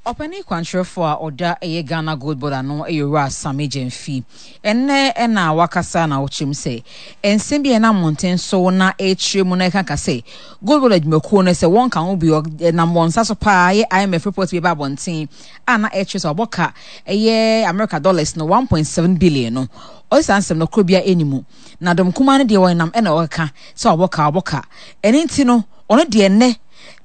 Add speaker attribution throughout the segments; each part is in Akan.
Speaker 1: Ɔpanin kwankyerɛfoɔ a ɔda ɛyɛ Ghana Gold Board ano yɛ Owura Sammy Gyamfi. Ɛnnɛ na wakasa na ɔkyerɛ mu sɛ nsɛm bi a ɛnam mmɔnten so na ɛrekyerɛ mu na ɛkaka sɛ Gold Board adwumakuo no sɛ wɔnka ho bi ɛnam wɔn nsa so paa yɛ IMF report bi ɛba abɔnten a na ɛkyerɛ sɛ wɔabɔ ka ɛyɛ America dollars no 1.7 billion no. Ɔse saa nsɛm no korɔ biara ɛnni mu. Na dɔm kumaa no deɛ wɔnam ɛna wɔkeka sɛ wɔabɔ ka wɔabɔ ka. Ɛno nti no ɔno deɛ nnɛ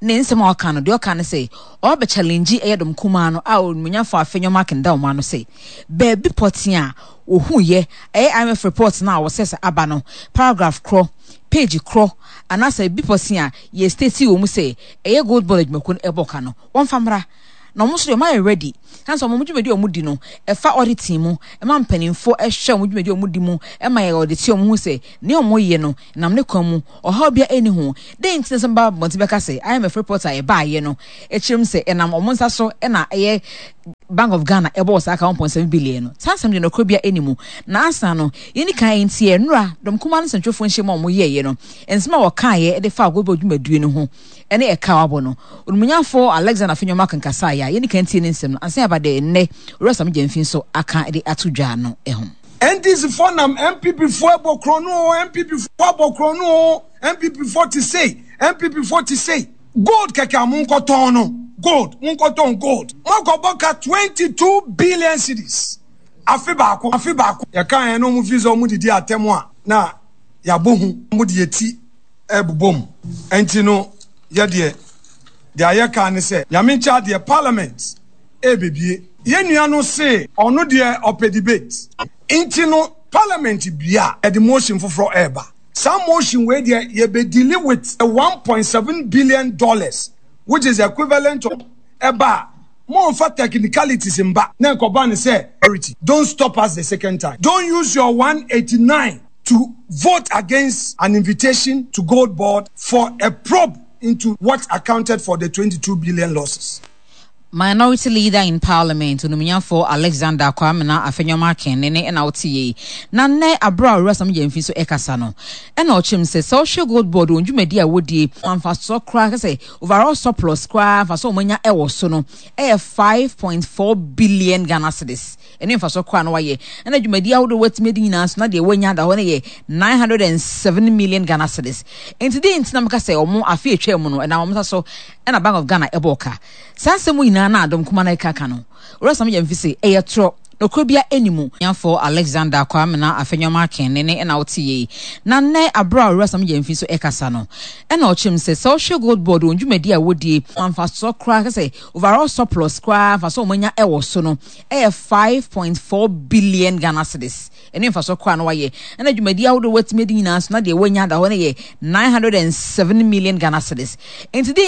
Speaker 1: ne nsɛm a ɔka no, deɛ ɔka ne sɛ ɔba bɛ challenge ɛyɛ dɔm kumaa no a onimuonyamfoɔ Afenyo Markin da wɔn ano sɛ baabi pɔtee a wɔhuiɛ ɛyɛ IMF report no a wɔsɛ sɛ aba no paragraph korɔ, page korɔ anaasɛ baabi pɔtee a yɛ state wɔ mu sɛ ɛyɛ gold board adwumakuo no ɛbɔ ka no wɔmfa mmra na wɔn nso deɛ wɔayɛ ready sane sɛ wɔn dwumadi a wɔdi no ɛfa auditing mu ɛma mpanimfoɔ ɛhwɛ wɔn dwumadi a wɔdi mu ɛma yɛ audit wɔn ho sɛ nea wɔyɛ no nam ne kwan mu ɔhaw biara nni ho. Dɛn nti na sɛ mba abɔnten bɛka sɛ IMF report a ɛbaeɛ no kyerɛ mu sɛ ɛnam wɔn nsa so na ɛyɛ Bank of Ghana ɛbɔɔ saa ka 1.7 billion no? Saa nsɛm deɛ nokorɛ biara nni mu. Na ansa no, yɛnni kan ntie nnora dɔm kumaa no nsɛntwerɛfoɔ nhyiamu a wɔyɛeɛ no, nsɛm a wɔkaeɛ de faa Goldbod dwumadie no ho ne ɛka a wɔabɔ no. Onimuonyamfoɔ Alexander Afenyo-Markin kasaeɛ a yɛnni kan ntie ne nsɛm no ansa yɛaba deɛ nnɛ Owura Sammy Gyamfi nso aka de ato dwa no ho.
Speaker 2: NDC foɔ nam NPP foɔ ɛbɔ korɔno oo NPP foɔ abɔ korɔno oo NPP foɔ te sei NPP foɔ te sei. Gold kɛkɛ a monkɔ tɔn no gold monkɔ tɔn gold moakɔ bɔ ka 22 billion cedis afe baako afe baako. Yɛka yɛn na wɔn fi sɛ wɔn didi atɛm a na yɛabɔ hu wɔn de yɛ ti ɛbobɔ mu ɛnti no yɛ deɛ deɛ ayɛ ka ne sɛ Nyame nkyɛ adeɛ parliament ɛrebɛbie. Yɛn nua no se ɔno deɛ ɔpɛ debate nti no parliament bue a yɛde motion foforɔ ɛreba. Saa motion wei deɛ yɛbɛ deali with $1.7 billion which is equivalent to ɛba a momfa technicalities mba na nkɔba no sɛ don't stop us the second time. Don't use your 189 to vote against an invitation to Gold Board for a probe into what accounted for the 22 billion losses.
Speaker 1: Minority Leader in Parliament, Onumunyafo Alexander Kwamina Afenyo-Markin ne ne na wote yei. Na nnɛ abere a Owura Sam Gyamfi nso ɛkasa no, ɛna ɔkyerɛ mu sɛ sɛ wohwɛ Gold Board wɔn dwumadi a wɔdie, mfasoɔ koraa kɛ sɛ overall surplus koraa mfasoɔ a wɔanya ɛwɔ so no ɛyɛ 5.4 billion Ghana cedis. Ɛne mfasoɔ koraa na wɔayɛ. Ɛna dwumadi ahodoɔ wɔatumi adi nyinaa nso na deɛ wɔanya da hɔ no yɛ 907 million Ghana cedis. Nti deɛ nti na meka sɛ wɔn afe atwa mu no ɛnam wɔn nsa so ɛna Bank of Ghana ɛbɔɔ ka. Saa nsɛm mu nyinaa na Adom Kumaa no reka ka no, Owura Sam Gyamfi se, ɛyɛ torɔ, nokorɛ biara nni mu. Nyanfoɔ Alexander Kwamena Afenyo-Markin ne ne na wote yei. Na nnɛ aberɛ a Owura Sam Gyamfi nso rekasa no, ɛna ɔkyerɛ mu sɛ, sɛ wohwɛ Gold Board wɔn dwumadie a wɔdie, mfasoɔ koraa kyerɛ sɛ overall surplus koraa mfasoɔ a wɔanya wɔ so no yɛ 5.4 billion Ghana cedis. Ɛne mfasoɔ koraa na wɔayɛ. Ɛna dwumadie ahodoɔ wɔatumi adi nyinaa nso na deɛ wɔanya da hɔ no yɛ 907 million Ghana cedis. Nti deɛ.